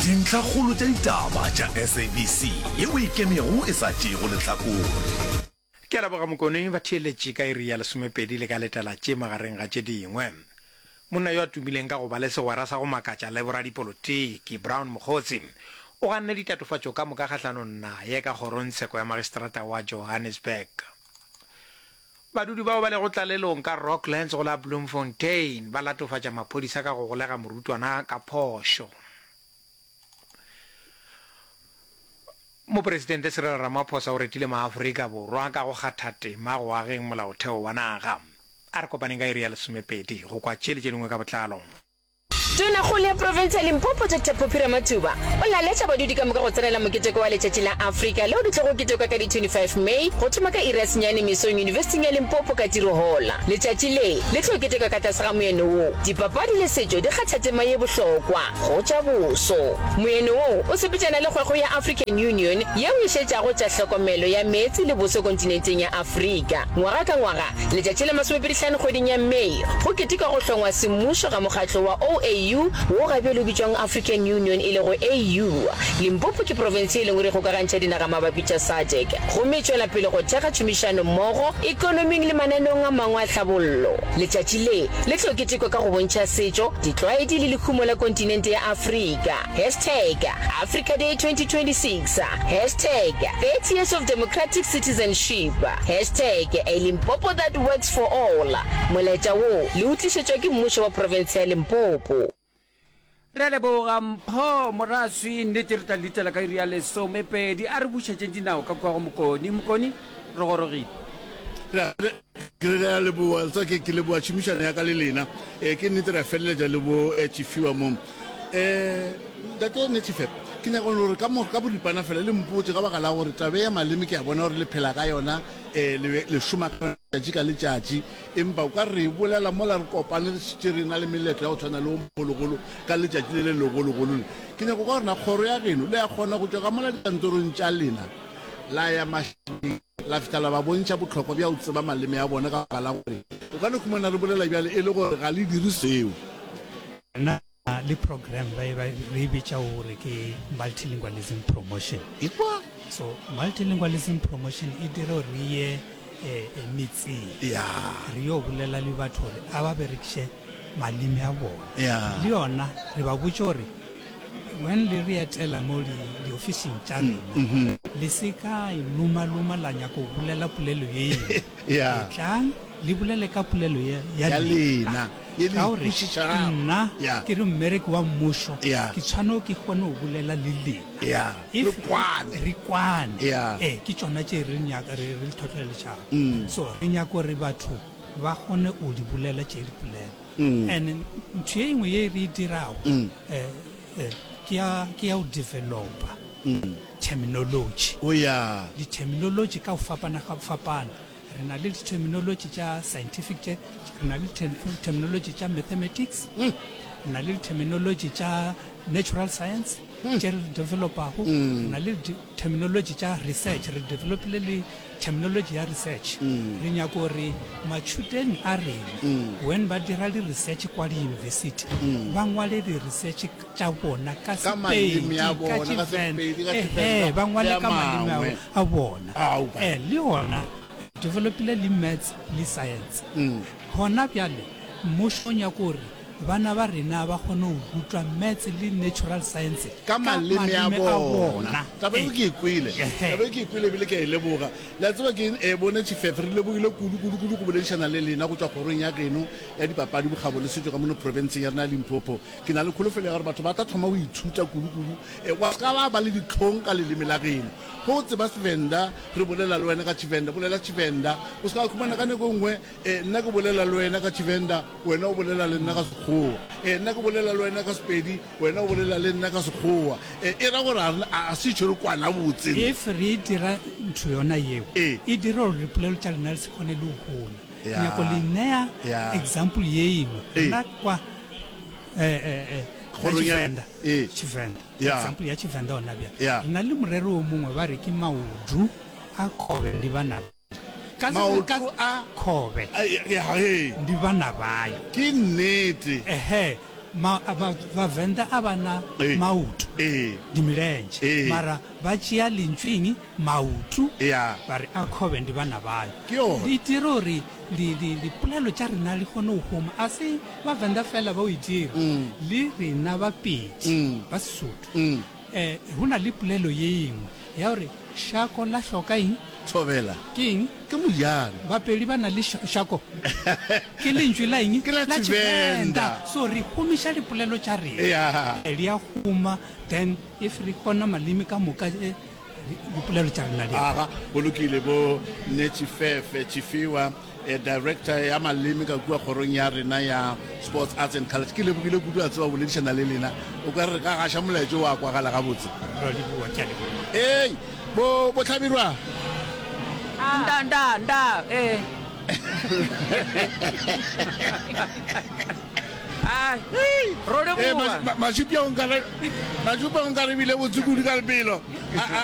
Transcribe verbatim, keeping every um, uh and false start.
Dintlhakgolo tša ditaba tša S A B C yeo e ikemego e sa tšeego lehlakore. Ke a leboga Mokone. Batheeletši ka iri ya lesomepedi le ka letela tše magareng ga tše dingwe. Monna yo a tumileng ka go ba le segwera sa go makatša le boradipolotiki, Brown Mogotsi, o ganne ditatofatšo ka moka kgahlanong naye ka kgorongtsheko ya magistrata wa Johannesburg. Badudi bao ba lego tlalelong ka Rocklands go la Bloemfontein ba latofatša maphodisa ka go golega morutwana ka phošo. Mopresidente Cyril Ramaphosa o retile maAfrika Borwa ka go kgatha tema go ageng molaotheo wa naga. A re kopaneng ka iri ya lesomepedi go kwa tše le tše dingwe ka botlalo. Tonakgolo ya profense ya Limpopo Doctor Phophi Ramathuba o laletša badudi ka moka go tsenela moketeko wa Letšatši la Afrika leo le tlogo ketekwa ka di twenty-five May go thoma ka iri ya senyane mesong Yunibesithing ya Limpopo ka Tiro Hall. Letšatši le le tlo ketekwa ka tlase ga moeno wo, Dipapadi le setšo di kgatha tema ye bohlokwa go tša boso. Moeno wo o sepetšana le kgwekgwe ya African Union yeo e šetšago tša hlokomelo ya meetse le boso kontinenteng ya Afrika. Ngwaga ka ngwaga, letšatši la masomepedi-hlano kgweding ya May, go ketekwa go hlongwa semmušo ga mokgatlo wa O A U wo ga bjale o bitšwang African Union e lego A U. Limpopo ke profense e leng gore e kgokagantšha dinaga mabapi tša SADC gomme e tšwela pele go thekga tšhomišano mmogo ekonoming le mananeong a mangwe a tlhabollo. Letšatši le le tlo ketekwa ka go bontšha setšo, ditlwaedi le lehumo la kontinente ya Afrika. Hashtag Africa Day twenty twenty-six, hashtag thirty years of democratic citizenship, hashtag a Limpopo that works for all. Molaetša wo le o tlišetšwa ke mmušo wa profense ya Limpopo. Re a leboga Mpho Moraswi, nnete re tla letela ka iri ya lesomepedi. A re bušetšeng dinao ka kua go Mokoni. Mokoni, re gorogile. Ke re a leboa tsa ke ke leboa tšhomišano ya ka le lena. um ke nnete re a feleletša le bo eh, Tšifiwa mo. um ntate Netshifep, ke nyaka gore ka mo ka boripana fela le mpotse ka baka la gore tabe ya maleme ke a bona gore le phela ka yona, um le le šoma ka letšatši ka letšatši, empa o ka re bolela mola re kopane re šetše re na le meletlo ya go tshwana le o mogologolo ka letšatši le le legologolo le. Ke nyaka kwa gore na kgoro ya geno le ya kgona go tšwa ka mola dikantorong tša lena la ya mašaleng la fihla la ba bontšha bohlokwa bja go tseba maleme a bona, ka baka la gore o ka no khumana re bolela bjale e le gore ga le dire seo? Na le program ba e ba re e bitša gore ke multilingualism promotion. Ekwa. So multilingualism promotion e dira gore re ye eh, eh, metseng ya re yo bolela le batho gore a ba berekiše maleme a bona. Ya le yona re ba botše gore when le re etela mo di- diofising tša rena, le se ka e loma-loma la nyaka go bolela polelo ye engwe. Ya etlang le bolele ka polelo ya ya ya lena, lena ye le ka gore ikwešišago. Nna ya ke re mmereki wa mmušo, ya ke tshwanelo ke kgone go bolela le lena. ya If re kwane. Re kwane. Ya ee, ke tšona tše re nyaka re re tlhotlheletšago. Mm. So re nyaka gore batho ba kgone go di bolela tše dipolelo. Mm. And ntho ye nngwe ye re e dirago Mm. eh, eh, ke ya ke ya go developa Mm. terminology. O ya di-terminology ka go fapana ga fapana. Re na le di-terminology tša scientific tše, re na le terminology tša mathematics, Mm. re na le di-terminology tša natural science tše re developago, re na le di-terminology tša research, re developile le terminology ya research. Re nyaka gore matšhuteng a rena when ba dira di-research kwa di-university ba ngwale di-research tša bona ka Ka maleme Sepedi, a ka bona, ka Tshivenda. Sepedi, ka Ehe, Tshivenda ba le ngwale a ka maleme a mangwe. a bona. Ao, ba. Eh, le yona developile le maths le science. Mm. Gona bjale mmušo o nyaka gore bana ba rena ba kgone go rutwa maths le natural science ka maleme a maleme a bona. Bona. Taba eo ke e kwele. Ehe. Taba eo ke e kwele ebile ke a e leboga. Le a tseba ke e bone Tšhifefe, re lebogile kudu kudu kudu go boledišana le lena go tšwa kgorong ya geno ya dipapadi, bokgabo le setšo ka mono profenseng ya rena ya Limpopo. Ke na le kholofelo ya gore batho ba tla thoma go ithuta kudu kudu, e wa se ka ba ba le ditlhong ka leleme la geno. Go o tseba Sevenda, re bolela le wena ka Tshivenda, bolela Tshivenda. O se ka khumana ka nako e nngwe e nna ke bolela le wena ka Tshivenda, wena o bolela le nna ka Sekgowa, e nna ke bolela le wena ka Sepedi, wena o bolela le nna ka Sekgowa, e e ra gore a re- a se tšho re kwana botse. If re dira ntho yona yeo, Ee. e dira gore dipolelo tša lena le se kgone le go gola. Ke Ya. nyako le nea Ya. example ye engwe. Ee. Nna kwa eh, eh, eh, ka Kgorong ya- Tshivenda, Ee. Tshivenda, Ya. example ya Tshivenda gona bjale, Ya. re na le morero o mongwe ba re ke maodu a kobe ndi bana ka Maoto ka a kobe Ai, ya, ee. ndi bana bayo. Ke nnete. Ehe, Ma, ba, Vhavenḓa a vha na Ee. maoto, Ee. ndi milenzhe, Ee. mara vha tšea lentšu eng, maoto, Ya. ba re a kgobe ndi vhana vhayo. Ke yona. Di dira gore li, li, lipolelo tša rena li kgone go huma. A se Vhavenḓa fela ba o e dira, le rena Bapedi ba Sesotho. Eh, go na le polelo ye engwe ya gore šako la hloka eng? Thobela. Ke eng? Ke mojano. Bapedi ba na le šako. Ke lentšu la eng? Ke la La Tshivenda. So re humiša dipolelo tša rena. Yeah. Di a huma, then if re kgona maleme ka moka, eh, dipolelo tša rena di a Aga, go lokile bo Netshifefe Tshifhiwa, eh, director ya maleme ka kua kgorong ya rena ya Sports Arts and Culture. Ke lebogile kudu a tseba boledišana le lena. O ka re re ka gaša molaetša wa kwagala gabotse. Ra leboga, ke a leboga. Ei, bo bo Hlabirwa. Nda, nda, nda, eh. Ai, ro Eh, leboga. ma- ma- Mašupja o nkare, Mašupja o nkare bile botse kudu ka lebelo. A, a,